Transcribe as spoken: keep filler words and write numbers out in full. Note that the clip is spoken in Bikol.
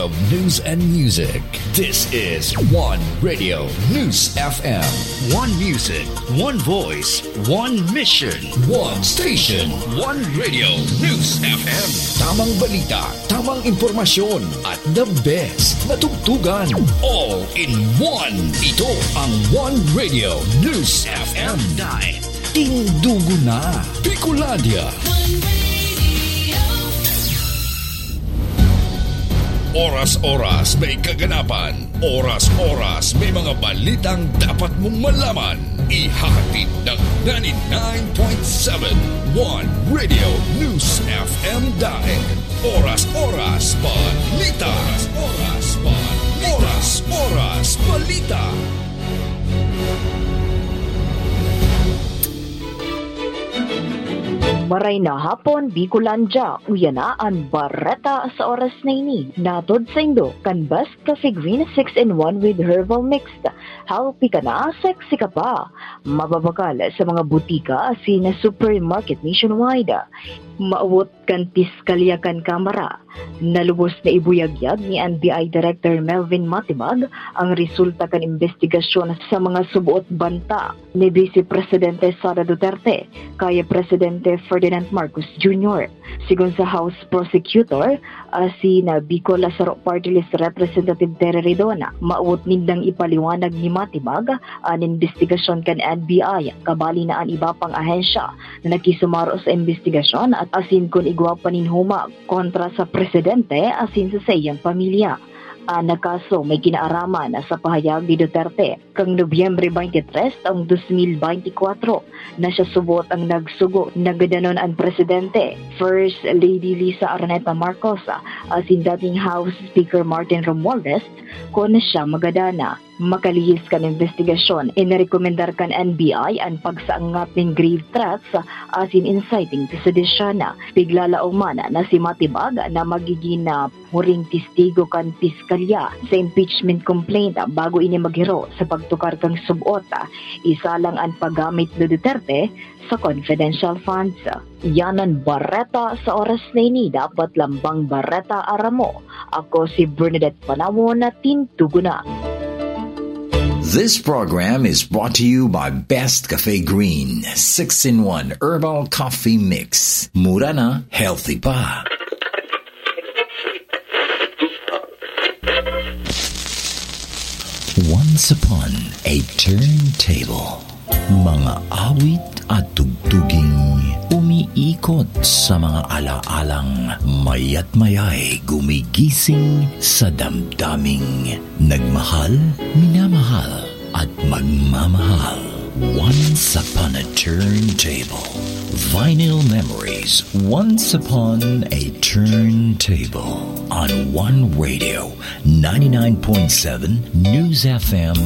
of news and music. This is One Radio News F M. One music, one voice, one mission, one station, One Radio News F M. Tamang balita, tamang impormasyon, at the best na tugtugan. All in one. Ito ang One Radio News F M. Dahil tindugo na Bicolandia. Oras-oras may kaganapan. Oras-oras may mga balitang dapat mong malaman. Ihahatid ng ninety-nine point seven One Radio News F M Daet. Oras-oras balita. Oras-oras balita. Oras-oras balita. Maray na hapon, Bicolandia. Uya na an bareta sa oras na ini. Natod saindo kan Best Cafe Green six-in-one with Herbal Mix. Healthy ka na, sexy ka pa. Mababakal sa mga butika asin supermarket nationwide. Maawot kan piskalya kan Kamara, nalubos na ibuyagyag ni N B I Director Melvin Matibag ang resulta kan imbestigasyon sa mga suboot banta ni Vice Presidente Sara Duterte kay Presidente Ferdinand Marcos Junior. Sigon sa House Prosecutor, asin na Bicol Saro Party List Representative Terry Ridon, maawot nindang ipaliwanag ni Matibag an imbestigasyon kan N B I, kabali na an iba pang ahensya na nakisumaro sa imbestigasyon at asin kun igwa pa nin humag kontra sa presidente asin sa saiyang pamilya. An kaso may kinaaraman sa pahayag ni Duterte. Kan Nobyembre twenty-three taong dos mil beintikwatro na siya subot ang nagsugo na gadanon an presidente, First Lady Lisa Araneta Marcos, asin dating House Speaker Martin Romualdez, kun siya magadana. Makalihis kan imbestigasyon, inarekomendar kan N B I an pagsaangat nin grave threats asin inciting to sedition. Piglalaoman na si Matibag na magigin na huring testigo kan piskalya sa impeachment complaint bago ini maghiro sa pagtukar kan subot. Isa lang an paggamit ni Duterte sa confidential funds. Yan an bareta sa oras na ini. Dapat lambang bareta aram mo. Ako si Bernadette Panawon na tintugo na. This program is brought to you by Best Cafe Green six-in-one Herbal Coffee Mix. Mura na, healthy pa. Once upon a turntable. Mga awit at tugtuging umiikot sa mga alaalang mayat mayay gumigising sa damdaming nagmahal, minamahal, at magmamahal. Once upon a turntable. Vinyl memories. Once upon a turntable. On One Radio, ninety-nine point seven News F M.